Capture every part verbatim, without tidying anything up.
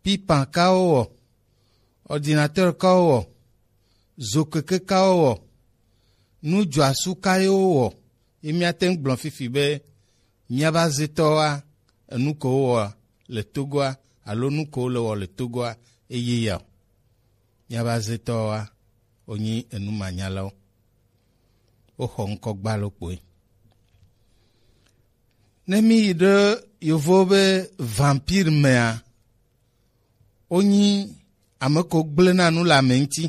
pipan kawo wɔ, ordinateur kawo wɔ, zokeke kawo wɔ, nudzɔasu kawo wɔ, ye míate ŋu gblɔ fifi be míabe azetɔwoa, enu ko wowɔ le Togoa alo nu ko wole wɔ le Togoa eye ya o. Míabe azetɔwoa, wonyi enumanyalawo. Woxɔ ŋkɔ gbalo kpoe. Ne míyi ɖe yovowo be vampire mea, wonyi ame ko gblẽna nu le ame ŋuti.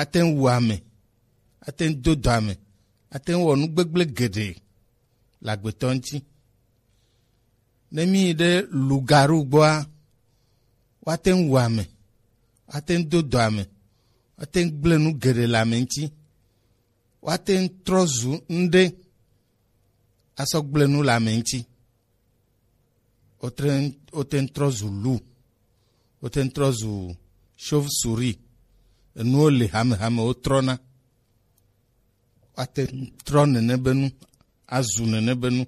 Ate ŋu wu ame, ate ŋu do dɔ ame, ate ŋu wɔ nu gbegblẽ geɖe le agbetɔ ŋuti. Ne míyi ɖe loup-garou gbɔa, woate ŋu wu ame, woate ŋu do dɔ ame, woate ŋu gblẽ nu geɖe le ame ŋuti, woate ŋu trɔ zu ŋɖe asɔ gblẽ nu le ame ŋuti. Wote ŋ-, wote ŋu trɔ zu loup, wote ŋu trɔ zu chauve-souris. Enuwo le hamehame wotrɔna. Woate ŋu trɔ nene be nu, azu nene be nu,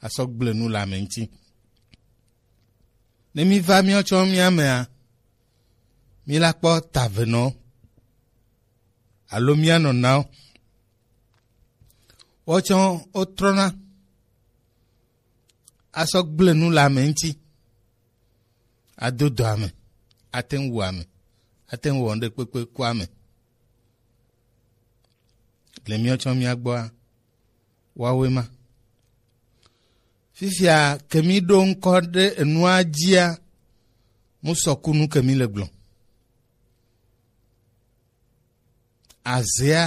asɔ gblẽ nu le ame ŋuti. Ne míva míawo tsɔ mía mea, míla kpɔ tavenɔ alo mía nɔnawo. Wotsɔ wotrɔna asɔ gblẽ nu le ame ŋuti, ado dɔ ame, ate ŋu wu ame, ate ŋu wɔ ŋɖe kpekpe ku ame. Le míawo tsɔ mía gbɔa, woawoe ma. Fifia ke mí ɖo ŋkɔ ɖe enua dzia, mu sɔkunu ke mí le gblɔ. Azea,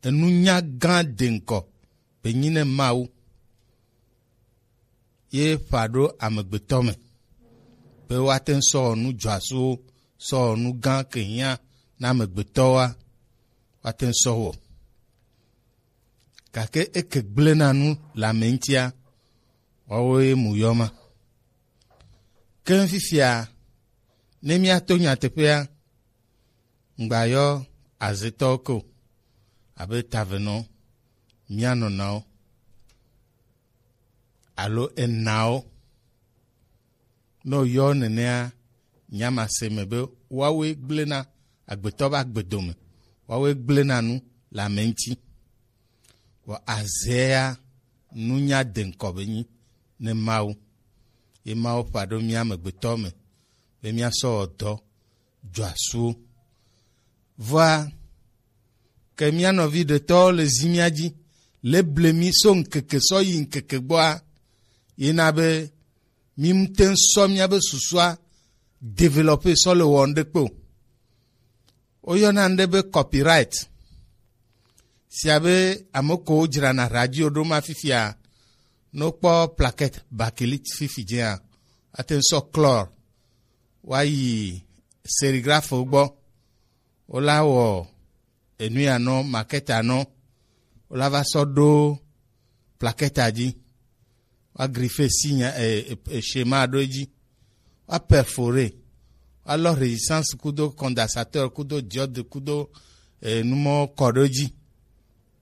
enunya gã de ŋkɔ be nyi ne Mawu ye ƒã ɖo amegbetɔ me, be woate ŋu sɔ wɔ nu dzɔasuwo, sɔ wɔ nu gã ke hiã na amegbetɔwoa, woate ŋu sɔ wɔ. Gake eke gblẽna nu le ame ŋutia, woawoe mu yɔ ma. Ke fifia, ne míato nyateƒea, ŋgba yɔ azetɔwo ke o, abe tavenɔ, mía nɔnawo, alo enawo. Ne woyɔ nenea, nya ma se me be woawoe gblẽna agbetɔ be agbedome, woawoe gblẽna nu le ame ŋuti. Vɔ azea, nunya de ŋkɔ be nyi ne Mawu. Ye Mawu ƒã ɖo mía amegbetɔ me be míasɔ wɔ dɔ dzɔasuwo. Vɔa, ke mía nɔvi ɖetɔwo le zi mía dzi, le ble mí so ŋkeke sɔ yi ŋkeke gbɔa, ye na be mí ŋute ŋu sɔ míabe susua développer sɔ le wɔ ŋɖe kpe o. Woyɔna ŋɖe be copyright. Sia be ame kowo dzrana radio ɖo ma fifia, ne wokpɔ plaquette bakélite fifi dzea, woate ŋu sɔ chlore woayi sérigraphe gbɔ, wola wɔ enu ya nɔ, maquette nɔ, wola va sɔ ɖo plaquette dzi, woa griffe signe, e, e, e, schéma ɖo edzi, woa perforer, woalɔ résistance kudo condensateur kudo diode kudo, e, numɔ kɔ ɖo edzi,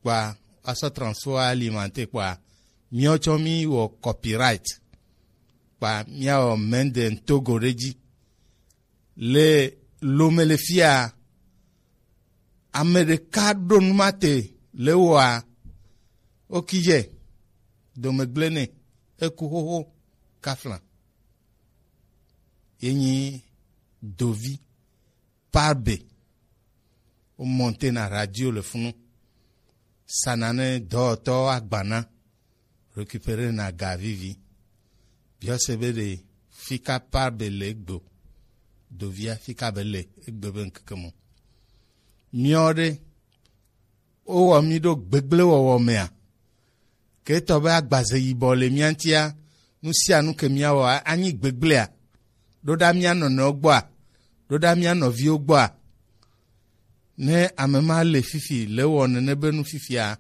kpɔa woasɔ transfo alimenter kpɔa míawo tsɔ mí wɔ copyright kpɔa míawɔ main de ntogo ɖe edzi. Le lome le fia, ame ɖeka ɖo nu ma te le wɔa, wokidze domegble nɛ, eku xoxo kafla. Ye nyi dovi parbe. Wo monter na radio le funu. Sana ne dɔwɔtɔ agbana. Récupérer na ga vivi. Biɔ se be ɖe fika parbe le egbe o. Dovia fika be le egbe be ŋkeke mo. Miɔ ɖe, wowɔ mi ɖo gbegble wɔwɔ mea? Ke etɔ be agbaze yibɔ le mía ŋutia, nu sia nu ke míawɔa, anyi gbegblea? Ɖo ɖa mía nɔnɔewo gbɔa? Ɖo ɖa mía nɔviwo gbɔa? Ne ame ma le fifi, le wɔ nene be nu fifia,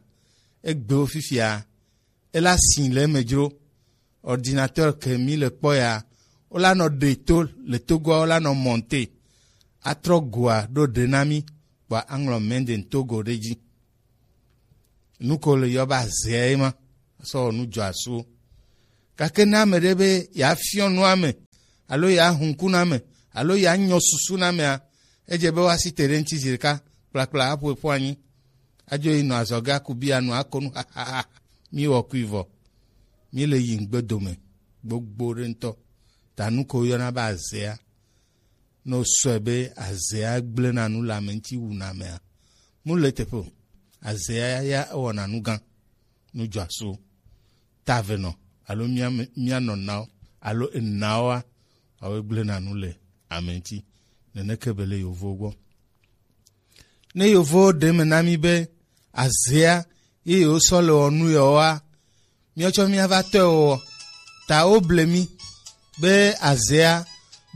egbewo fifia, ela si le eme dzro. Ordinateur ke mi le kpɔ ya, wola nɔ ɖe to le Togoa, wola nɔ monter, atrɔ goa ɖo ɖe na mi, kpɔa aŋlɔ Made in Togo ɖe dzi. Nu ko le yɔ be azea ye ma, sɔ wɔ nu dzɔ asuwo. Gake ne ame ɖe be yeafiɔ nua me, alo ya hunkuname, alo ya nyɔ susunamea, edze be woasi te ɖe ŋuti zi ɖeka kplakpla aƒo ƒu anyi. Adzo yi nɔ azɔge aku bia nu ako nu hahaha. Mi wɔ kui vɔ. Mi le yi ŋgbe dome gbogbo ɖe ŋutɔ. Ta nu ko woyɔna be azea. Ne wosɔe be azea gblẽna nu le ame ŋuti wuna amea, mu le teƒe o. Azea ya ewɔna nu gã, nu dzɔasu, ta eve nɔ, alo mía me-, mía nɔnawo, alo enawoa, woawoe gblẽna nu le ame ŋuti. Neneke be le yovowo gbɔ. Ne yovowo ɖe me na mí be azea ye yewosɔ le wɔ nu yewoa, míawo tsɔ míava tɔe wɔwɔ. Ta woble mí be azea,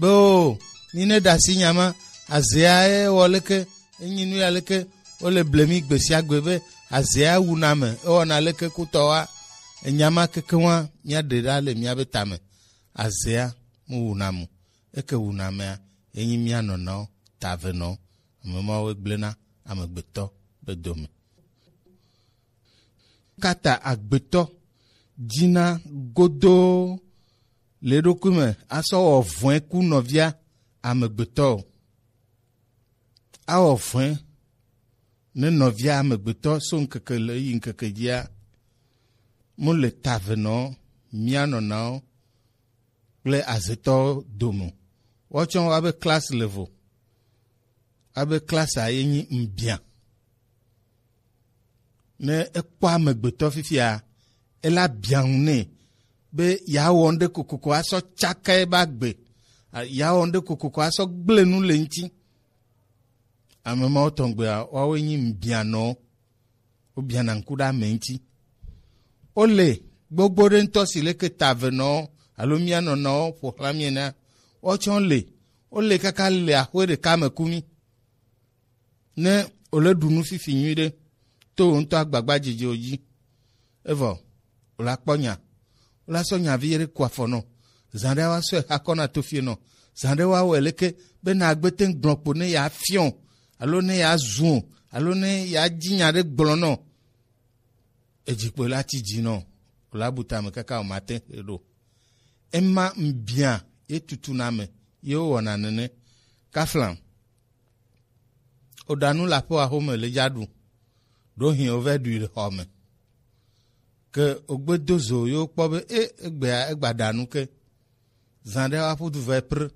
be o, mí ne ɖe asi nya ma, azea ye wɔ leke, enyi nu ya leke, wole ble mí gbe sia gbe be azea wuna ame, ewɔna leke kutɔwoa, enya ma kekeŋua, míaɖe ɖa le míabe tame. Azea mu wuna mu, eke wuna amea, enyi mía nɔnawo, ta eve nɔwo, ame mawo gblẽna amegbetɔ be dome. Kata agbetɔ dzina godoo le eɖokui me asɔ wɔ vɔ̃e ku nɔvia amegbetɔ o. Awɔ vɔ̃e ne nɔvia amegbetɔ so ŋkeke le yi ŋkeke dzia, mu le ta eve nɔ mía nɔnawo kple azetɔwo dome. Woatsɔ woabe class level. Abe class a ye nyi ŋbia. Ne ekpɔ amegbetɔ fifia, ela bia ŋu nɛ be yeawɔ ŋɖe kokoko asɔ tsaka ebe agbe, a-, yeawɔ ŋɖe kokoko asɔ gblẽ nu le ŋuti. Ame mawo tɔgbeawo, woawoe nyi ŋbianɔwo. Wobiana ŋku ɖe ame ŋuti. Wole gbogbo ɖe ŋutɔ si leke ta eve nɔwo alo mía nɔnɔwo ƒo xlã mí enea, woawo tsɛ wole. Wole kaka le axwe ɖeka me ku mí. Ne wòle ɖu nu fifi nyuiɖe to wò ŋutɔ agbagbadzedzewo dzi, evɔ wòle akpɔ nya, wòle asɔ nya vi ɖe ku afɔ nɔ, zã ɖe woasɔe xa kɔ na tofie nɔ, zã ɖe woawɔe leke be nàgbe te ŋu gblɔ kpo ne yeafiɔ alo ne yeazu o alo ne yeadzi nya ɖe gblɔ nɔ. Edzi kpo la ti dzi nɔ, wòle abu tame kaka wòmate ɖo. Ema ŋbia ye tutuna ame ye wowɔna nene. Kafla. Woɖa nu le aƒe axome le dza ɖu. Ɖo hin wovɛ ɖui le xɔ me. Ke wogbe do zo ye wokpɔ be, e, egbea, egba ɖa nu ke. Zã ɖe woaƒu du vɛ pr,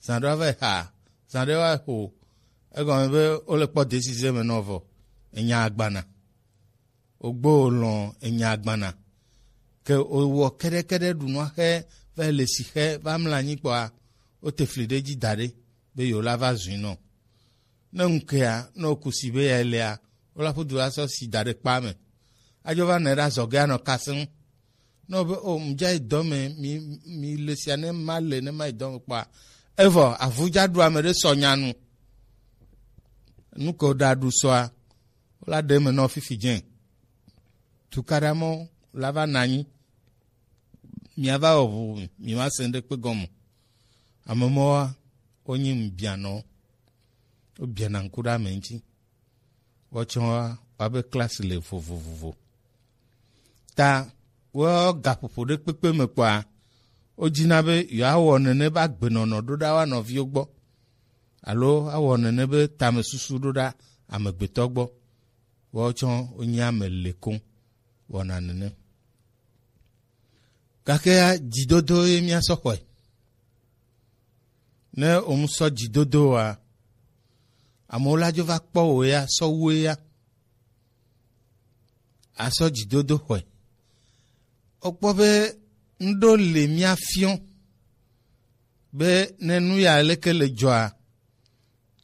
zã ɖe woavɛ ha, zã ɖe woaxo. Egɔme be wole kpɔ desize me nɔ vɔ. Enya agbana. Wogbe wo lɔ̃ enya agbana. Ke wowɔ keɖekeɖe ɖu nua xe, va le si xe, va mla anyi kpɔa, wote fli ɖe dzi da ɖe, be yewo la va zui nɔ. Ne ŋkea, ne woku si be ya lea, wo la ƒu du la sɔ si da ɖe kpa me. Adzo va nɛ ɖe azɔge anɔ kasem. Ne wo be, o, mu dza yi dɔ me, mi, mi le sia ne ma le, ne ma yi dɔ me kpɔa. Evɔ, avu dza ɖu ame ɖe sɔ nya nu. Nu ke wo ɖa ɖu sɔa, wo la ɖe me nɔ fifi dze. Tukaɖa mɔ la va na anyi. Mia va wɔ ʋu, mi ma se ŋɖe kpe gɔme. Ame mɔwoa, wonyi ŋbianɔwo. Wobiana ŋku ɖe ame ŋuti. Woatsɔ wa, woabe klasi le vovovovo. Ta wo gaƒoƒo ɖe kpekpe me kpɔa, wodina be yewoawɔ nene be agbenɔnɔ ɖo ɖa wa nɔviwo gbɔ. Alo awɔ nene be tamesusu ɖo ɖa amegbetɔ gbɔ. Woawo tsɔ wonye ame le koŋ wɔna nene. Gakea, dzidodo ye míasɔ xɔe. Ne wòmu sɔ dzidodo oa, amewo la dzo va kpɔ wò ya, sɔ wu ya, asɔ dzidodo xɔe. Wokpɔ be ŋɖo le mía fiɔ be ne nu ya leke le dzɔa,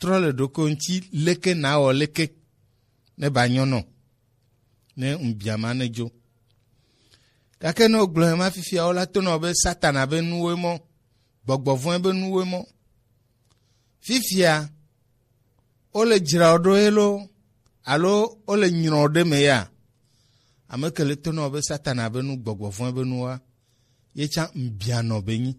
trɔ le ɖoko ŋuti leke nawɔ leke ne ba nyɔ nɔ, ne ŋbia ma ne dzo. Gake ne wogblɔe ma fifia, wola to nɔ be Satana be nuwoe mɔ, gbɔgbɔ vɔ̃e be nuwoe mɔ. Fifia, wole dzra wo ɖo ye lo, alo wole nyrɔ wo ɖe me ya? Ame ke le to nɔ be Satana be nu, gbɔgbɔ vɔ̃e be nuwoa, ye tsã ŋbia nɔ be nyi.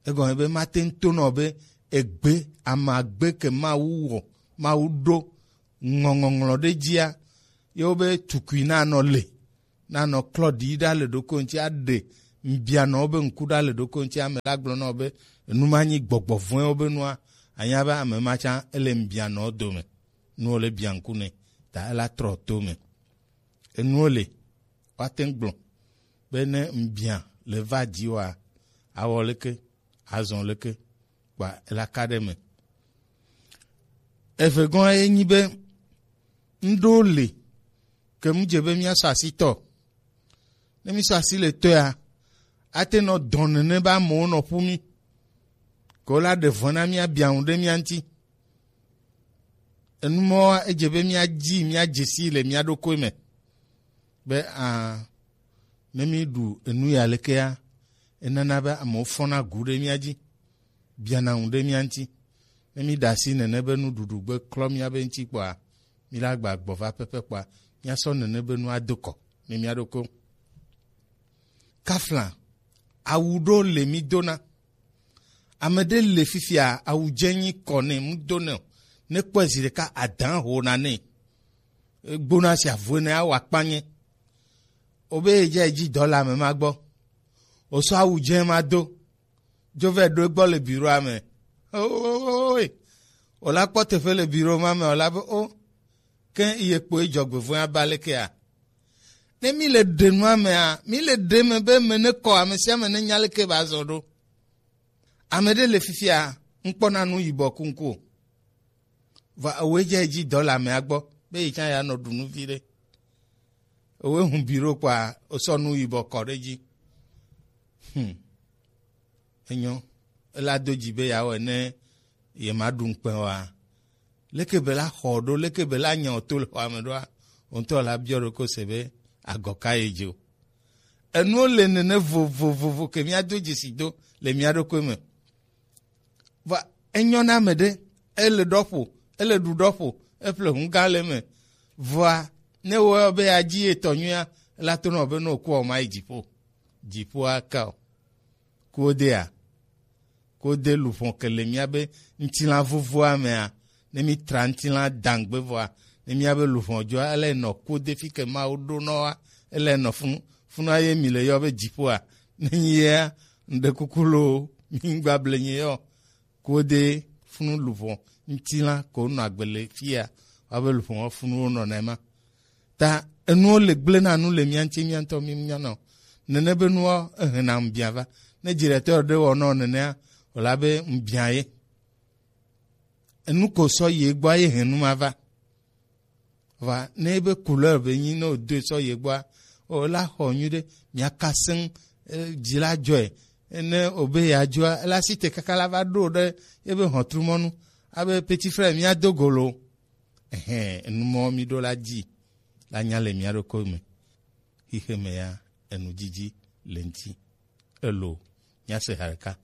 Egɔme be mate ŋu to nɔ be egbe, amagbe ke Mawu wɔ, Mawu ɖo ŋɔŋɔŋlɔ ɖe dzia, ye wo be tukui nanɔ le, nanɔ klɔ ɖi ɖa le ɖoko ŋuti aɖe ŋbianɔwo be ŋku ɖa le ɖokui ŋuti, ame la gblɔ na wò be enu ma nyi gbɔgbɔ vɔ̃ewo be nua, anya be ame ma tsã ele ŋbianɔwo dome. Nuwo le bia ŋku nɛ, ta ela trɔ to me. Enuwo le, woate ŋu gblɔ be ne ŋbia le va dzi woa, awɔ leke, azɔ leke, kpa ela ka ɖe me. Eve gɔ̃ ye nyi be ŋɖewo le ke mu dze be míasɔ asi tɔ. Ne mísɔ asi le tɔea, ate nɔ dɔn nene be amewo nɔ ƒu mí. Ke wola ɖe vɔ̃ na mía, bia ŋu ɖe mía ŋuti. Enu mɔwoa, edze be míadzi, míadze sii le mía ɖokui me. Be, a, ne míɖu enu ya lekea, enana be amewo fɔna gu ɖe mía dzi, biana ŋu ɖe mía ŋuti. Ne míɖe asi nene be nuɖuɖu gbe klɔ míabe ŋuti kpɔa, míla gba gbɔ va pɛpɛ kpɔa, míasɔ nene be nu ado kɔ ne mía ɖokui. Kafla, awu ɖo le mí dona. Ame ɖe le fifia, awu dze nyi kɔ nɛ, mu do nɛ o. Ne kpɔe zi ɖeka, adã ho na nɛ. Egbona si avue ne awa kpanye. Obe edze edzi dɔ le ame ma gbɔ. Osɔ awu dze ma do. Dzo vɛ ɖo egbɔ le biroa me. Oe. Ola kpɔ teƒe le biro ma me, ola be o. Ke ye kpo edzɔgbevɔ̃e aba lekea? Ne mi le ɖe nua mea, mi le ɖe me be me ne kɔ, ame sia ame ne nya leke ba zɔ ɖo. Ame ɖe le fifia, ŋkpɔna nu yibɔ kuŋku o. Va ewoe dze edzi dɔ le amea gbɔ, be yi tsã ya nɔ ɖu nu vi ɖe. Ewoe hun biro kpɔa, osɔ nu yibɔ kɔ ɖe dzi. Hmm. Enyo, ela do dzi be yeawɔe ne yemaɖu ŋukpe oa? Leke be la xɔ ɖo, leke be la nya o to le xɔa me ɖoa? Wo ŋutɔ la biɔ ɖokui se be agɔ ka ye dzi o. Enuwo le nene vovovovo ke míado dzesi do le mía ɖokui me. Vɔa, enyo na ame ɖe, ele ɖɔ ƒo, ele ɖu ɖɔ ƒo, eƒle hu gã le eme. Vɔa, ne wɔ be yeadzi etɔ nyuia, ela to nɔ be ne wòkua, wòmayi dziƒo. Dziƒoa ka o. Kuwodea? Kuwode luʋɔ ke le míabe ŋutilã vovoa mea, ne mítra ŋutilã dãgbe vɔa, ne míabe luʋɔ dzɔa, ele nɔ kuwode fi ke Mawu ɖo nɔ wa, ele nɔ funu, funua ye mi le yɔ be dziƒoa, ne nyi yea, ŋɖe kuku loo, mi ŋgba ble nyi yɔ. Kuwode funu luʋɔ ŋutilã ko nɔ agbe le fia, wa be luʋɔ wa funu wo nɔ nɛ ma. Ta enuwo le gblẽ na nu le mía ŋuti, mía ŋutɔ mí mía nɔ. Nene be nuwo ehe na ŋbia va. Ne dziɖetɔ ɖe wɔ nɔ nenea, wòla be ŋbia ye. Enu ko sɔ ye gbɔ ye he nu ma va. Va ne ebe couleur be nyi ne wòdoe sɔ ye gbɔa, wòla xɔ nyuiɖe, mía ka seŋ, eh, dzi la dzɔe. Ne obe ya dzɔa, ela si te kaka la va ɖo ɖe ebe hɔntrumɔnu. Abe petit frère, mía do golo. Ɛhɛn, enu mɔ mi ɖo la dzi la nya le mía ɖokui me. Xixe me ya, enu dzidzi le ŋuti. Elo, mía se ha ɖeka.